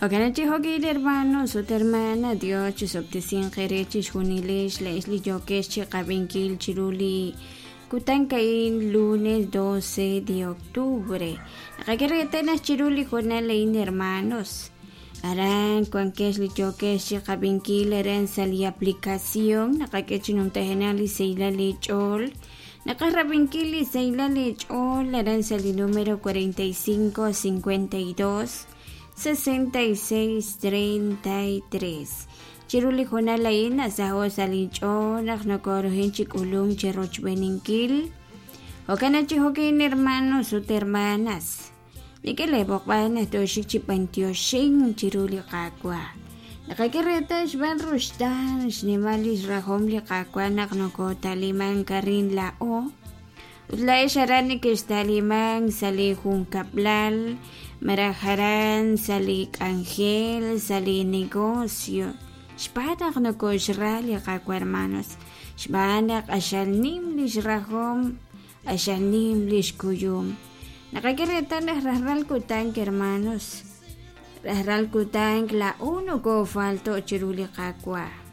Jo'kan chi jo'kil hermanos ut hermana, Dios chisob'tesinq eere chixjunilex laa'ex li yookex chiqab'inkil chiru li kutan a'in lunes 12 de octubre. Naqak'e reetal naq chiru li hoonal a'in hermanos, aran wankex li yookex chiqab'inkil aran sa' li aplicación naqak'e chi numtajenaq li sahilal eech'ool. Naqaj rab'inkil li sahilal eech'ool aran sa' li número 45 52 66 33. Chiru li hoonal a'in nasaho' sa' linch'ool naq nokorohin chi k'ulunk chi rochb'eeninkil. Jo'kan naq chi jo'kin hermanos ut hermanas, nik'e lee b'oqb'al naq tooxik chi b'antioxink chiru li Qaawa'. Naqak'e reetal xb'aan ruxtaan xnimal lix rajom li Qaawa' naq nokotalimank arin laa'o. Ut laa'ex aran nekexta'limank sa' li junkab'lal, malaj aran sa' li k'anjel, sa' li negocio, xb'aan naq nokoxra li Qaawa' hermanos, xb'aan naq q'axal nim lix rajom, q'axal nim lix kuyum. Naqak'e reetal naq rajlal kutan, hermanos, rajlal kutan laa'o nokofalto' chiru li Qaawa'.